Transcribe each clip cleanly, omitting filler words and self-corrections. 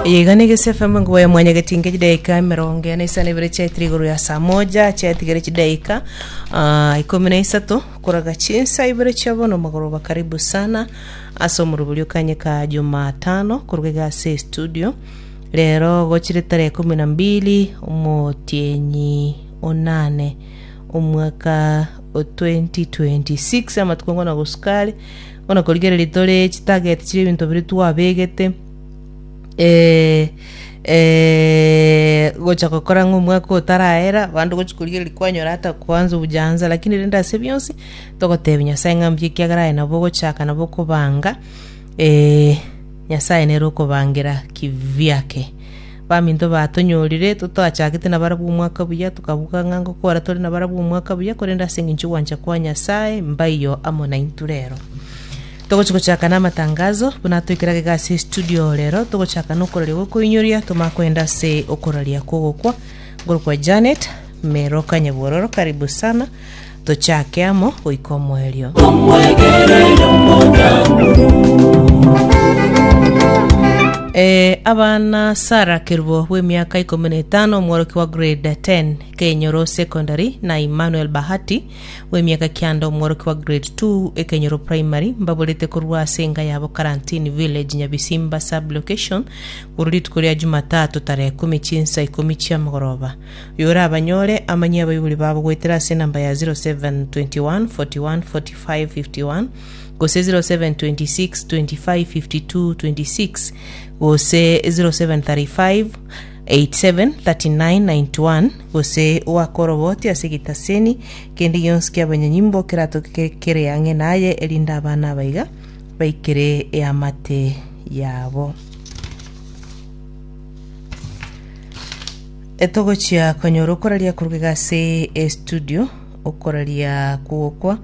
Iga nigo SFM enkuba ya mwanyagetinge chidaika emerongo ene isano ibere chiaetire igoro ya saa moja chiatigere chidaika ah, ikomi na isato koraga chinsa ibere chia bono magoroba karibu sana ase omorobori okanye ka jumatano koruga iga ase studio rero gochire tarehe kumi na mbili omotienyi onane omwaka o 2026 amatuko ngona gosukare Bono korigereria tore chitarget chire ebinto biria twabegete eh, eh, gocha gokora ng'a omwaka otaraera abande gochi korigereria kwanyora hata kwanza hujaanza lakini rende ase bionsi togotebia Nyasaye ng'a mbuya ekiagera aye nabo ogochaka nabo okobanga eh, Nyasaye nere okobangera kivyake. Baminto batonyorire totachagete nabarabwo omwaka buya, tokabuga ng'a ngokora tore nabarabwo omwaka buya, korende ase engencho y'ogwancha kwa Nyasae mbaiyo amo naintwe rero. Togochi gochaka namatangazo buna toikera gega ase estudio rero togochaka nokoraria gokoinyoria tomanye koenda ase okoraria kw'ogokwa ngorokwa Janet Meroka Nyabwororo karibu sana Tochake amo goika omoerio. Eh, abana Sarah Kerubo bw'emiaka ikomi na etano omworokia wa grade 10 Kenyoro Secondary na Emmanuel Bahati bw'emiaka kianda omworokia wa grade 2 Ekenyoro Primary mbaborete korwa ase enka yabo Karantini Village Nyabisimba Sub-location korwa rituko ria Jumatatu tarehe kumi chinsa ikomi chiamagoroba. Oyorabanyore amanyie abaibori babo goetera ase enamba ya 0721 41 45 51 gose 0726 25 52 26 gose 0735 87 39 91 gose oake oroboti ase egetaseni kende gionsi ki'abanyanyimbo keratoke kere ang'e naye erinde abana abaiga baikere eamate yabo. Etogochia konyora okoraria korwa iga ase estudio, okoraria kw'ogokwa.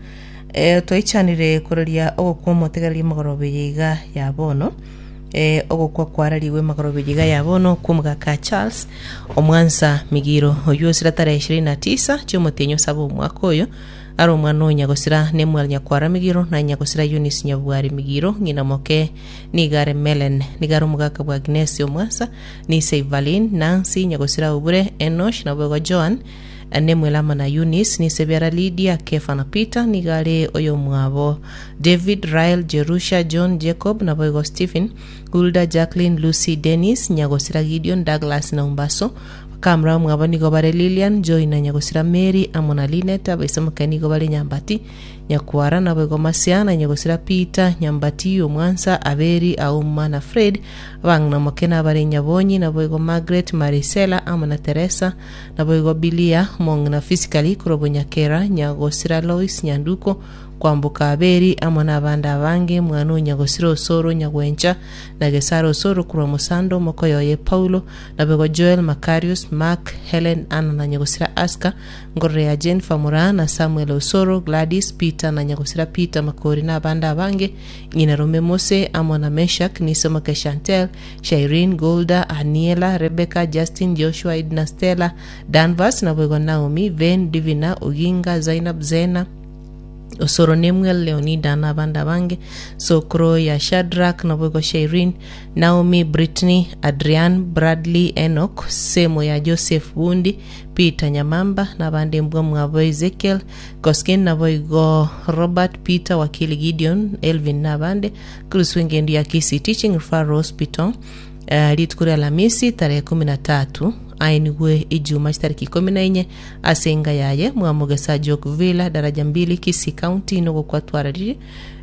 Eh, twaichanire koraria ogokwa omotegereri emagoroba eye iga ya bono. Eh, ogokwa kwararigwe emagoroba eye iga ya bono kw'omogaka Charles Omwansa Migiro oyio osira tarehe ishirini na tisa chi'omotienyi osaba omwaka oyo are omwana o Nyagosira Nemuel Nyakwara Migiro na Nyagosira Eunice Nyabwari Migiro ng'ina moke nigo are Melen nigo are omogaka bwa Agnesi Omwansa Nise Ivalin, Nancy, Nyagosira Obure, Enosh, naboigo Joan, Nemuel amo na Eunice, nise biara Lidia, Kefa na Peter, nigo are oyomwabo David, Rael, Jerusha, John, Jacob, naboigo Stephen, Hulda, Jacqueline, Lucy, Dennis, Nyagosira Gideon, Douglas na Umbaso. Bakamura omwabo nigo bare Lilian, Joy na Nyagosira Mary amo na Linet, abaisemoke nigo bare Nyambati, Nyakwara, naboigo Masia na Nyagosira Peter, Nyambati, Omwansa, Aberi, Auma na Fred, Abang'ina moke nabare Nyabonyi, naboigo Margaret, Marisela, amo na Teresa, naboigo Bilia, omong'ina Fisikali, korwa Bonyakera, Nyagosira Lois, Nyanduko, Kwamboka Aberi, amo nabande abange, mwana o Nyagosira Osoro, Nyagwencha, na Gesare Osoro korwa Mosando, omokoyo oye Paulo, naboigo Joel, Makarius, Mark, Helen, Anna na Nyagosira Aska, Ngorore ya Jennifer Moraa, na Samuel Osoro, Gladys, Peter na Nyagosira Peter Makori na abande abange, Ng'ina rome Mose, amo na Meshak, Nisomoke Chantel, Shaireen, Golda, Aniela, Rebecca, Justin, Joshua, Edna, Stella, Danvers, naboigo Naomi, Ven, Divina, Oginga, Zainab, Zena, Osoro, Nemuel, Leonida, na abande abange, Sokro ya Shadrack, naboigo Shaireen, Naomi, Brittany, Adrian, Bradley, Enoch, Semo ya Joseph Bundi, Peter Nyamamba, na abande mbwa mwabo Ezekiel, Koskin naboigo Robert, Peter, Wakili Gideon, Elvin na abande, Chris w'engendu ya Kisii Teaching Referral Hospital, eh, rituko ria Alamisi tarehe kumi na tatu aenigwe Ijuma chitariki ikomi na inye ase enga yaye mwamogesa Jok Villa daraja mbili Kisii County nogokwa twararire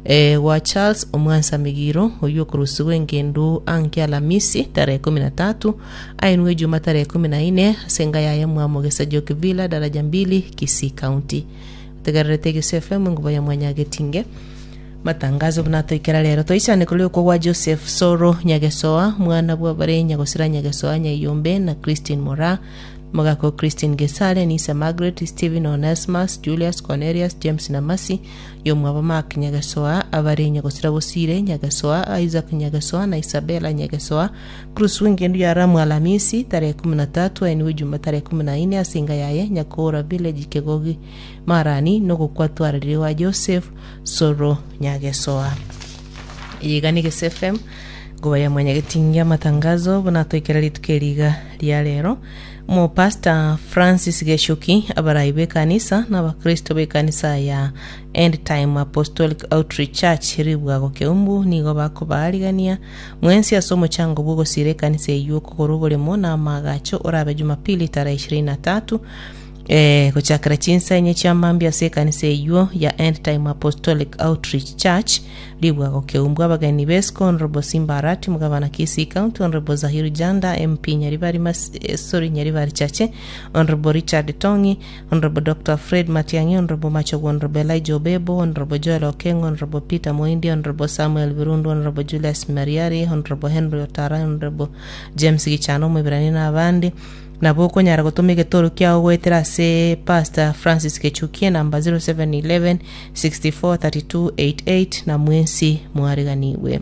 eh, gwa Charles Omwansa Migiro oyio okorusigwa engendu anke Alamisi tarehe kumi na tatu aenigwe Ijuma tarehe kumi na ine ase enga yaye mwamogesa Jok Villa daraja mbili Kisii County. Otegererete Egesu FM enguba ya Mwanyagetinge. Matangazo buna toikera rero toichane korwa okwo gwa Joseph Soro Nyagesoa mwana bw'abare Nyagosira Nyagesoa Nyaiyombe na Christine Moraa Mogako Christine Gesare Nisa Margaret Stephen Onesmus Julius Cornelius James na Mercy Yomwabo Mark Nyagesoa abare Nyagosira Bosire Nyagesoa Isaac Nyagesoa na Isabella Nyagesoa Cruz w'engendu ya Ramu Alamisi tarehe kumi na tatu aenigwe Ijuma tarehe kumi na ine ase enga yaye Nyakoora Village Kegogi Marani nogokwa twararire gwa Joseph Soro Nyagesoa. Eye iga ne Gese FM. Ngoba ya mwanyagetingi amatangazo buna toikera rituko eri iga ria rero. Omopastor Francis Geshuki, abarai b'ekanisa na abakristo b'ekanisa ya End Time Apostolic Outreach Church Ribwago Keumbu nigo bakobaarigania mwensi ase omochango bw'ogosiira ekanisa eyio okogora oboremo na amaagacho orabe Jumapili tarehe ishirini na tatu Eh, gochakera chinsa inye chia mambia ase ekanisa eyio ya End Time Apostolic Outreach Church Ribwago Keumbu abageni b'esiko Honorable Simba Arati Mugabana Kisii County Honorable Zahiru Janda MP Nyaribari Mas eh, sorry Nyaribari Chache Honorable Richard Tong'i Honorable Dr. Fred Matiang'i Honorable Machogu Honorable Elijah Obebo Honorable Joel Okengo Honorable Peter Moindi Honorable Samuel Birundu Honorable Julius Mariari Honorable Henry Otara Honorable James Gichana Omoibirania na abande Nabo okonyara gotoma egetoro kiao goetera ase Pastor Francis Gechukie namba 0711 64 32 88 na mwensi mwariganigwe.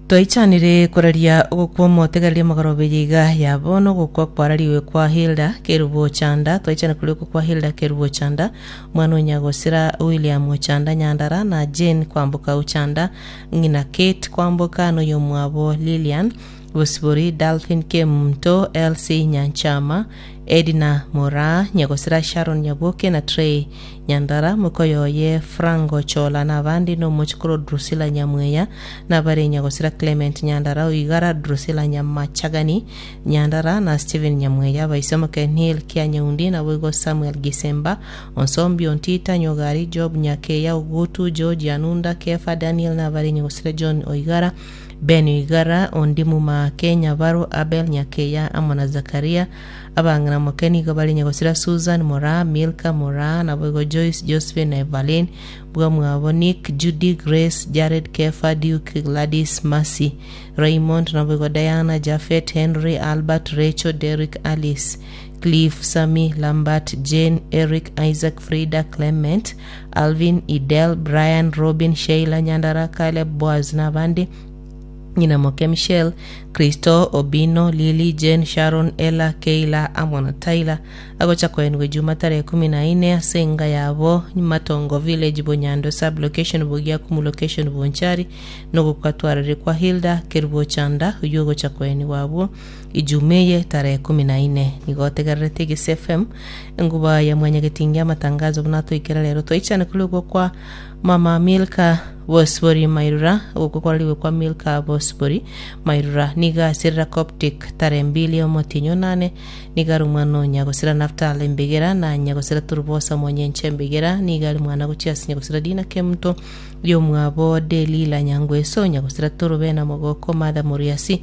Twaichanire koraria ogokwa omotegereria omogoroba eye iga ya bono ogokwa kwarariwe kwa Hilda Kerubo Ochanda twaichana koria okwa kwa Hilda Kerubo Ochanda omwana o Nyagosira William Ochanda Nyandara na Jane Kwamboka Ochanda ng'ina Kate Kwamboka noyomwabo Lilian Bosibori, Dalphin Kemunto, Elsie Nyanchama, Edna Moraa, Nyagosira Sharon Nyaboke na Trey Nyandara, mokoyo oye Franco Chola na abande na omochokoro Drusilla Nyamweya, na abare Nyagosira Clement Nyandara Oigara, Drusilla Nyamachagani Nyandara na Stephen Nyamweya, abaisomoke Neil Kianyeundi naboigo Samuel Gisemba, Onsombi Ontita, Nyogari, Job Nyakeya, Ogutu, George Anunda, Kefa Daniel na abare Nyagosira John Oigara, Ben Oigara, Ondimu Maake, Nyabaro, Abel Nyakeya, amo na Zakaria. Abang'ina moke nigo bare Nyagosira Susan, Moraa, Milka, Moraa, naboigo Joyce, Josephine na Evaline, bwamwabo Nick, Judy, Grace, Jared, Kefa, Duke, Gladys, Mercy, Raymond, naboigo Diana, Japhet, Henry, Albert, Rachel, Derrick, Alice, Cliff, Sammy, Lambert, Jane, Eric, Isaac, Frida, Clement, Alvin, Idel, Brian, Robin, Sheila, Nyandara, Caleb, Boaz na abande, ng'ina moke Michelle, Christo, Obino, Lily, Jane, Sharon, Ella, Keila amo na Tyler, agocha koenigwa ejuma tarehe kumi na ine ase enga yabo Matongo Village, Bonyando Sub-location, Bogiakumu Location, Bonchari, nogokwa-twarire kwa Hilda Kerubo Chanda, oyio ogocha koenigwa abwo Ijuma eye tarehe kumi na ine. Nigo otegererete Egese FM, enguba ya mwanyagetingi amatangazo buna atoikera rero toichane kori okwo kwa Mama Milka Bosibori Mairura, ogokwa kwarariwe kwa Milka Bosibori Mairura nigo aserera Coptic tarehe mbili omotienyi onane, nigo are omwana o Nyagosira Naftali Embegera na Nyagosira Turubosa Monyenche Embegera, nigo are mwana gochia ase Nyagosira Dina Kemunto Riomwabo Delila Nyangweso, Nyagosira Torobena Mogoko, Martha Moriasi,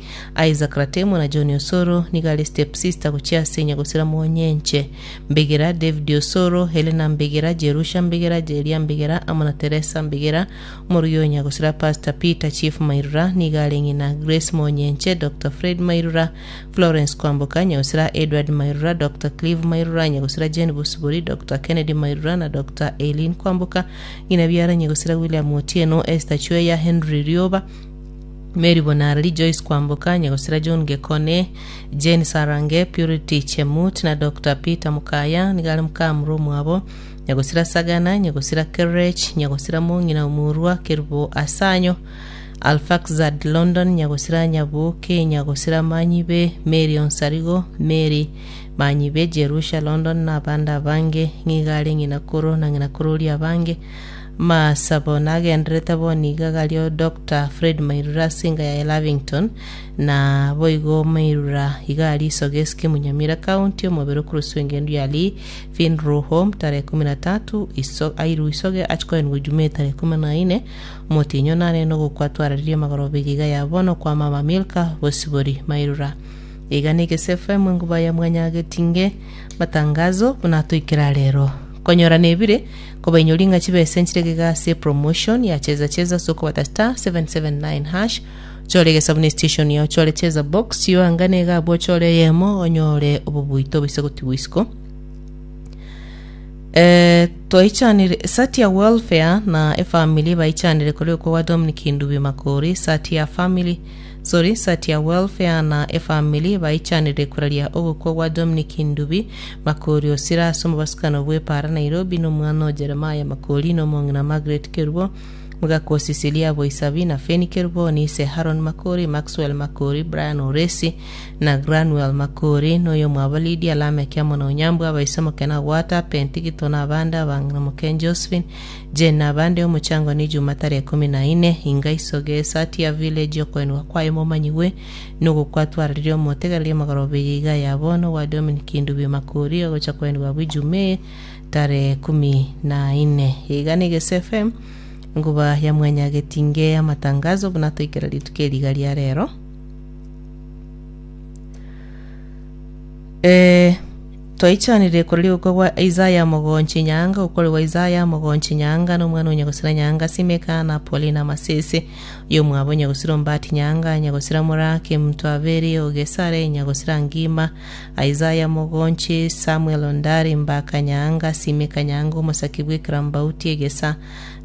Isaac Ratemo na John Osoro, nigo are step sister gochia ase Nyagosira Monyenche Mbegera, David Osoro, Helena Mbegera, Jerusha Mbegera, Jeria Mbegera amo na Teresa Mbegera, omorugi o Nyagosira Pastor Peter Chief Mairura, nigo are ng'ina Grace Monyenche, Doctor Fred Mairura, Florence Kwamboka, Nyagosira Edward Mairura, Doctor Clive Mairura, Nyagosira Jane Bosibori, Doctor Kennedy Mairura na Doctor Eileen Kwamboka, Ng'ina biara Nyagosira William Otieno, Esther Chweya, Henry Rioba, Mary Bonareri, Joyce Kwamboka, Nyagosira John Gekone, Jane Sarange, Purity Chemut na Doctor Peter Mukaya, nigo are mokamura omwabo, Nyagosira Sagana, Nyagosira Kerech, Nyagosira Mong'ina Omurwa, Kerubo Asanyo, Alfaxad London, Nyagosira Nyaboke, Nyagosira Manyibe, Mary Onsarigo, Mary Manyibe, Jerusha London na abande abange, ng'iga are ng'ina koro na ng'ina kororia abange. Masabo nagenderete bono iga gario Doctor Fred Mairura ase enga yaye Lavington, na boigo Mairura iga aria Isogeski Munyamira County omobere okoroswa engendu ya Lee Funeral Home tarehe kumi na tatu iso airwe Isoge achi koenigwa Ijumaa tarehe kumi na ine omotienyi onane nogokwa twararirie magoroba eye iga ya bono kwa mama Milka Bosibori Mairura. Iga negese FM enguba ya mwanyagetinge matangazo buna toikera rero konyora nebire kobainyori ng'a chibesa enchire gega ase promotion ya cheza cheza ase okobata star 779 hash ochore egesabu ne station yao ochore cheza box chiyoangane iga abwo ochore eyemo onyore obobuito oboise gotigwa isiko Eh, twaichanire Satia Welfare na efamily baichanire korwa okwo gwa Dominic Ndubi Makori Satia family sorry Satia Welfare na efamily baichanire koraria ogokwa gwa Dominic Ndubi Makori osire ase omobasukano bw'epara Nairobi na omwana o Jeremiah Makori na omong'ina Margaret Kerubo. Mogaka o Cecilia Boisabi na Feni Kerubo, Nise Haron Makori, Maxwell Makori, Brian Oresi, na Granuel Makori, na oyomwabo Lydia, Lameki amo na Onyambwa, abaise moke na Gwata, Pentigito na abande, abang'ina moke Josephine, Jane na abande, omochango ni Juma tarehe ikomi na ine, inga isoge esati ya village okoenigwa kwaye momanyigwe, nogokwa-twarareria omotegereria omogoroba eye iga ya bono gwa Dominic Ndubi Makori ogocha koenigwa abwo Ijumaa eye tarehe kumi na ine. Iga na Egese FM, enkuba ya mwanyagetinge amatangazo buna toikera rituko eri iga ria rero. Eh, twaichanire korwa rigokwa gwa Isaya mogonchi nyaanga, okorigwa Isaya mogonchi nyaanga, na omwana o nyagosira nyaanga, Simeka na Paulina Masese, oyomwabo nyagosira Ombati nyaanga, nyagosira Morake, Mtwaberi, Ogesare, nyagosira Ngima, Isaya mogonchi, Samuel Ondari, Mbaka nyaanga, Simeka nyaanga, omosaki bw'Ekerambauti egesa,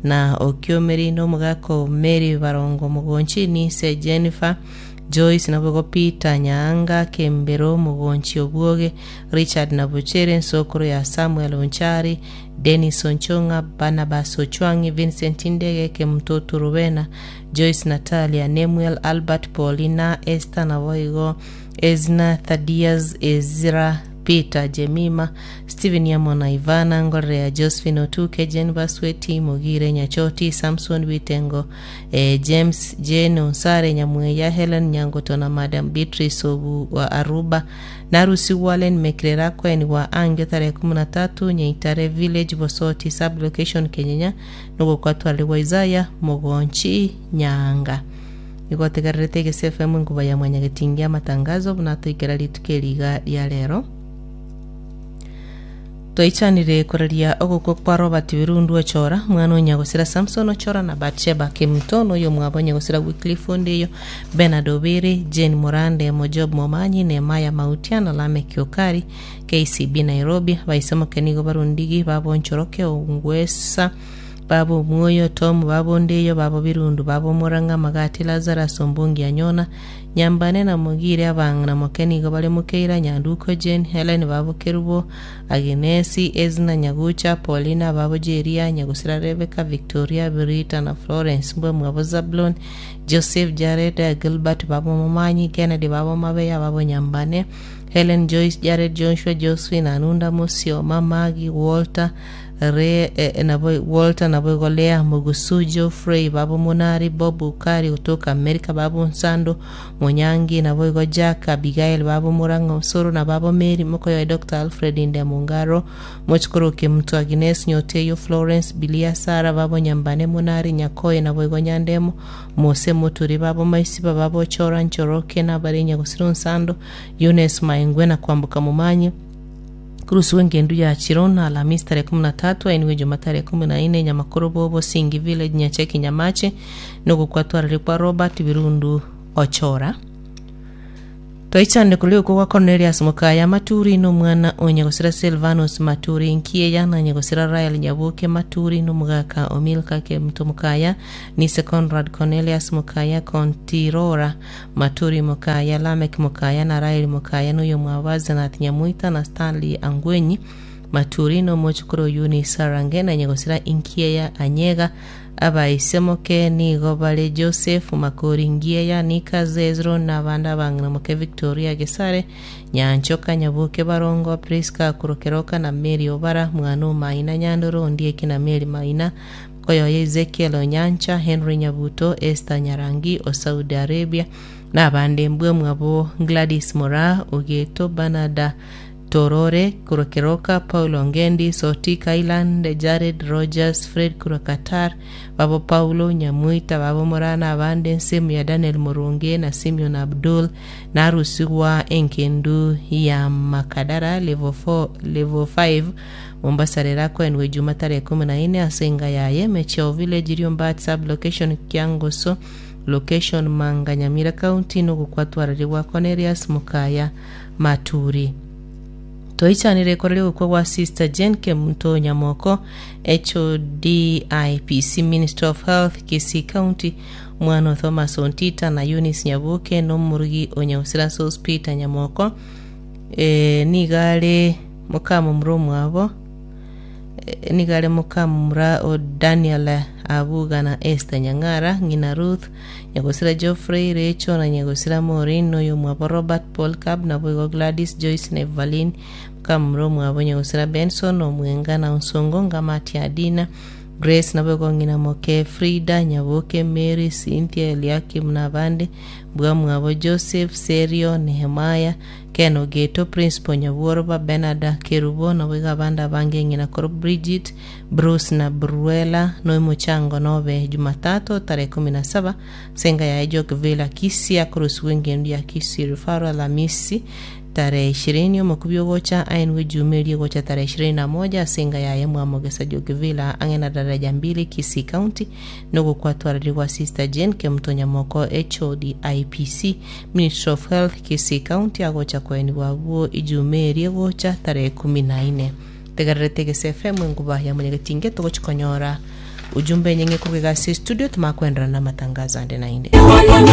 na Okiomeri, na omogaka o Mary Barongo mogonchi, Nise Jennifer, Joyce naboigo Peter Nyaanga, Kembero Mogonchi Obwoge, Richard Nabuchere, ensokoro ya Samuel Onchari, Dennis Onchong'a, Barnabas Ochwang'i, Vincent Ndege, Kemutoto Rubena, Joyce Natalia, Nemuel Albert, Paulina, Esther naboigo Ezna, Thaddeus, Ezra, Peter, Jemima, Stephen amo na Ivana, Ngorerea Josephine Otuke, Jane Basweti, Mogire Nyachoti, Samson Bitengo, eh, James, Jane Onsare, Nyamweya, Helen Nyangoto na Madam Beatrice obu wa Aruba, Narusi Wallen Mekrera Kweni wa Angio tarehe 13 Nyaitare Village Bosoti sub location Kenyenya nogokwatwarigwa Isaiah Mogonchi Nyaanga. Igo tegererete Egese FM enkuba ya mwanyagetingi amatangazo buna toikera rituko eri iga ria rero. Twaichanire koraria ogokwa kwa Robert Birundu Ochora, mwana o nyagosira Samson Ochora na Batsheba Kemuto, na oyomwabo nyagosira Wycliffe Ondeyo, Bernard Obere, Jane Morande, Mojob Momanyi, Nehemiah Mautia na Lameck Okari, KCB Nairobi, Abaisemoke nigo barundigi babo Nchoroke Ongwesa, Baba Omwoyo, Tom baba Ondeyo, baba Birundu, baba Omorang'a, Magati Lazarus, Ombongi Anyona, Nyambane na Mogire abang'ina moke nigo bare Mokeira, Nyanduko Jane, Helen babo Kerubo, Aginesi, Ezna Nyagucha, Paulina babo Jeria, Nyagusira Rebecca, Victoria, Birita na Florence mbwe mwabo Zablon, Joseph, Jared, Gilbert babo Momanyi, Kennedy babo Mabeya babo Nyambane, Helen Joyce, Jared Joshua, Josephine Anunda, Musioma, Maggie, Walter, Re, eh, nabo Walter naboigo Lea Mugusu, Geoffrey babo Munari, Bob Ukari gotoka Amerika babo Nsando, Monyangi naboigo Jack, Abigail babo Murang'a Osoro na babo Mary mokoyoe Dr. Alfred Ndemungaro, Mochikoro Kemutu Agnes Nyoteyo Florence Bilia Sara babo Nyambane Munari Nyakoe naboigo Nyandemo Mose Muturi babo Maisiba babo Chora Nchoroke nabare Nyagusiro Nsando Eunice Maengwe na Kwamboka Momanyi Kurusiwa engendu ya Chiron Alhamisi tarehe 13 ainwe Juma tarehe 14 Nyamakoro Bobo Singi Village Nyacheki Nyamache nogokwatwarire kwa Robert Birundu Ochora. Toichande koria okwo gwa Cornelius Mokaya Maturi nomwana o nyagosira Silvanus Maturi Nkieya na nyagosira Rael Nyaboke Maturi nomogaka o Milka Kemuto Mokaya Nise Conrad Cornelius Mokaya Kontirora Maturi Mokaya Lameck Mokaya na Raeli Mokaya noyomwabo Asenath Nyamoita na Stanley Angwenyi Maturi nomochokoro Eunice Sarange na nyagosira Nkieya Anyega Abaisemoke nigo bare Joseph, Makori, Ngieya, Nika, Zezro, na abande abang'ina moke Victoria, Gesare, Nyanchoka, Nyaboke, Barongo, Prisca, Kurokeroka, na Mary Obara, mwana o Maina, Nyandoro, Ondieki, na Mary Maina, mokoyoye Ezekiel Onyancha, Henry Nyabuto, Esther Nyarangi o Saudi Arabia, na abande mbwe mwabo Gladys Moraa, Ogeto, Bernard Torore, korwa Keroka, Paul Ongendi, Sotik Island, Jared Rogers, Fred korwa Qatar, babo Paulo, Nyamuita, babo Moraa na abande ensemo ya Daniel Moronge na Simeon Abdul, narusigwa enkendu ya Makadara level 4, level 5 Mombasa rero akoenwe Juma tarehe 14 ase enga yaye Mecheo Village Riombat sub location Kiangoso location Manga Nyamira County nogokwatwararigwa Cornelius Mukaya Maturi. Toichanire korera ogokwa gwa Sister Jane Kemunto Nyamoko, HOD IPC Ministry of Health Kisii County, omwana o Thomas Ontita na Eunice Nyaboke na omorugi o Nyausira Sos Peter Nyamoko, eh, nigo are mokamomura omwabo, eh, nigo are mokamomura o Daniel. Abuga na Esther Nyang'ara, ng'ina Ruth, Nyagosira Geoffrey, Rachel na Nyagosira Maureen, na oyomwabo Robert Paul Cab, naboigo Gladys, Joyce na Evaline, mokamura omwabo Nyagosira Benson, Omwenga na Onsongo, Ngamati Adina, Grace, naboigo ng'ina moke Frida, Nyaboke, Mary, Cynthia, Eliakim na abande, Mbwamwabo Joseph, Serio, Nehemiah, Ken Ogeto, Principal Nyabworoba, Bernard Kerubo, naboigo abande abange ng'ina koro Bridget, Bruce na Bruella, noimochango nobe Jumatatu tarehe 17 ase enka yaye Jock Villa Kisii akorusigwa engendu ya Kisii Referral Alamisi tarehe 20 omokubi ogocha aenwe Ejuma eria egocha tarehe 21 ase enka yaye Mwamogesa Jock Villa ang'e na Daraja Mbili Kisii County nogokwatwareri gwa Sister Jane Kemuto Nyamoko HOD IPC Ministry of Health Kisii County agocha koenigwa abwo Ijuma eria egocha tarehe 14. Tegererete Egese FM enguba ya Mwenyagetinge togochi konyora ujumbe enyeng'e korwa iga ase estudio tomakoenderera na amatangazo ande naende.